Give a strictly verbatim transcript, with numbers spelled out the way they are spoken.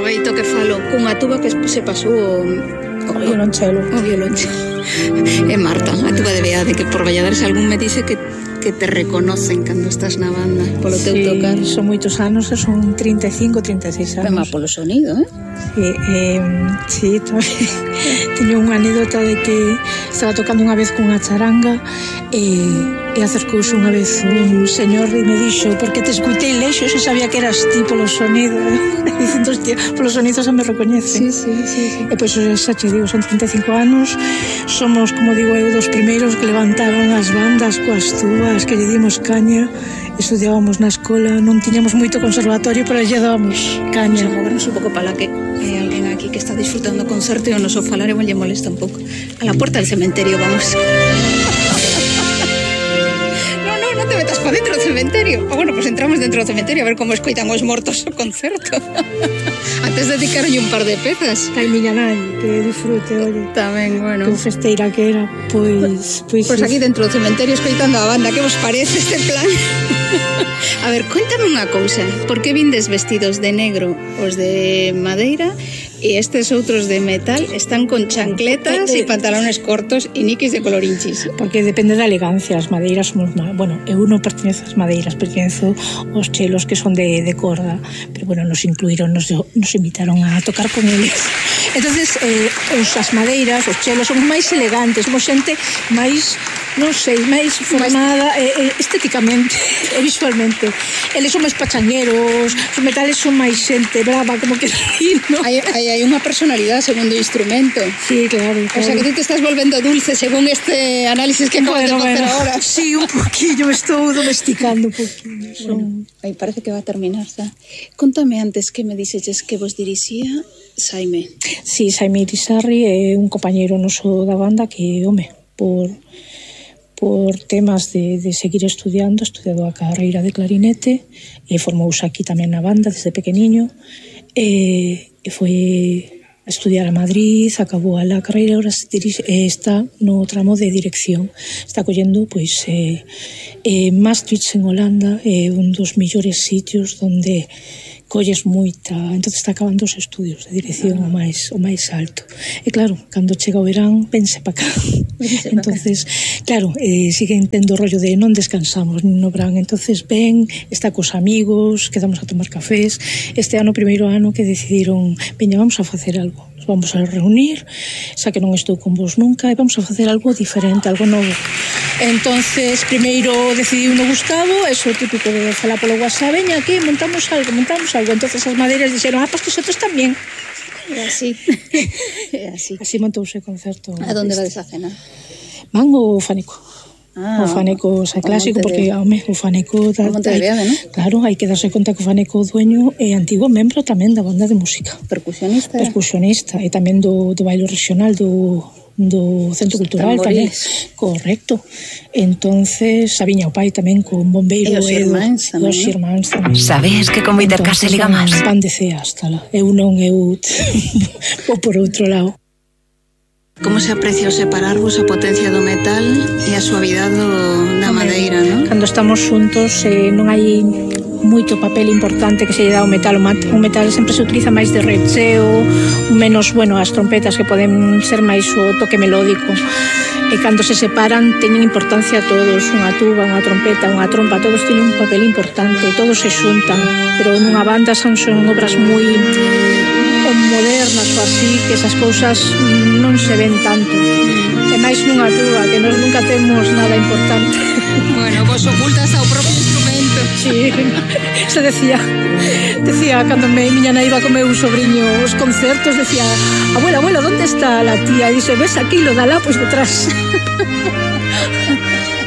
aproveito que falo cunha tuba que se pasou o, o, o violonchelo. O violonchelo. E Marta, a tuba de Beade, que por Valladares algún me dice que que te reconocen cando estás na banda polo teu sí, tocar. Son moitos anos, son trinta e cinco, trinta e seis anos. Pema polo sonido, eh? Sí, eh, sí, teño unha anécdota de que estaba tocando unha vez cunha charanga e, e acercouse unha vez un señor e me dixo, porque te escuitei lexo, se sabía que eras ti polo sonido. E dicindo, hostia, polo sonido xa me recoñecen. Sí, sí, sí, sí. E pois xa te digo, son trinta e cinco anos, somos, como digo eu, dos primeiros que levantaron as bandas coas tubas, que lle dimos caña, estudiábamos na escola, non tiñamos moito conservatorio, pero lle dábamos caña. Vamos a movernos un pouco para la que hai alguén aquí que está disfrutando o concerto e o noso falar e lle molesta un pouco. A la puerta del cementerio, vamos. No, no, non te metas para dentro do cementerio. Ah, bueno, pues entramos dentro do cementerio a ver como escoitan os mortos o concerto. Antes dedicaron un par de pezas. Ai, miña nai, que disfrute, oye. Tamén, bueno. Que festeira que era, pois... Pois, pois aquí dentro do cementerio escoitando a banda. Que vos parece este plan? A ver, cuéntame unha cousa. Por que vindes vestidos de negro os de madeira e estes outros de metal están con chancletas e pantalones cortos e niquis de colorinchis? Porque depende da elegancia. As madeiras somos... Bueno, eu non pertenzo ás madeiras, pertenzo aos chelos que son de, de corda, pero bueno, nos incluíron, nos, nos invitaron a tocar con eles. Entonces, eh, os, as madeiras, os chelos son máis elegantes, somos xente máis, non sei, máis formada eh, estéticamente e visualmente. Eles son máis pachangueros, os metales son máis xente brava, como que decir, ¿no? Hai, hai, hai unha personalidade segundo o instrumento. Sí, claro, claro. O sea, que tú te estás volvendo dulce según este análisis que acabas bueno, de facer bueno. ahora. Sí, un poquillo, me estou domesticando un poquillo. Bueno, aí parece que va a terminar, xa. Contame antes que me dixeches que vos dirixía Saime. Sí, Saime Irisarri é un compañeiro noso da banda que, home, por... por temas de, de seguir estudiando, estudiado a carreira de clarinete e formouse aquí tamén na banda desde pequeniño e, e foi a estudiar a Madrid, acabou a la carreira, ahora está no tramo de dirección, está collendo pois eh, eh, Maastricht en Holanda, é eh, un dos millores sitios onde colles moita, entonces está acabando os estudios de dirección o máis o máis alto. E claro, cando chega o verán, pense para cá. Entonces, claro, eh, siguen tendo o rollo de non descansamos no verán, entonces ven, está cos amigos, quedamos a tomar cafés. Este ano, primeiro ano que decidiron, veña, vamos a facer algo. Nos vamos a reunir, xa que non estou con vos nunca, e vamos a facer algo diferente, algo novo. Entonces, primeiro decidiu no Gustavo, eso típico de falar polo WhatsApp, veña aquí, montamos algo, montamos algo. Entonces as madeiras dixeron, ah, pues nosotros tamén. E así, e así. Así montouse o concerto. A donde vades a cenar? Van o Faneco. Ah, o Faneco, o sea, clásico, porque, home, o Faneco... O Monte de Beade, non? Claro, hai que darse conta que o Faneco, o dueño, é antigo membro tamén da banda de música. Percusionista. Percusionista, e tamén do, do baile regional do... do Centro Cultural tamén. Correcto. Entonces, a viña o pai tamén con bombeiro e os irmáns tamén. Os irmáns tamén. Sabes que como intercase liga máis. Van de cea hasta lá. Eu non, eu vou por outro lado. Como se aprecia o separarvos a potencia do metal e a suavidade da madeira, non? Cando estamos xuntos eh, non hai moito papel importante que se lle dá ao metal. O metal sempre se utiliza máis de recheo, menos, bueno, as trompetas que poden ser máis o toque melódico. E cando se separan teñen importancia todos, unha tuba, unha trompeta, unha trompa, todos teñen un papel importante, todos se xuntan, pero nunha banda son, son obras moi modernas ou así, que esas cousas non se ven tanto. E máis nunha tuba, que nós nunca temos nada importante. Bueno, vos ocultas ao propio instrumento. Sí, se decía, decía cando me miña nai iba co meu sobrinho os concertos, decía, abuela, abuela, ¿dónde está la tía? E dice, ves aquí, lo da lá, pois detrás.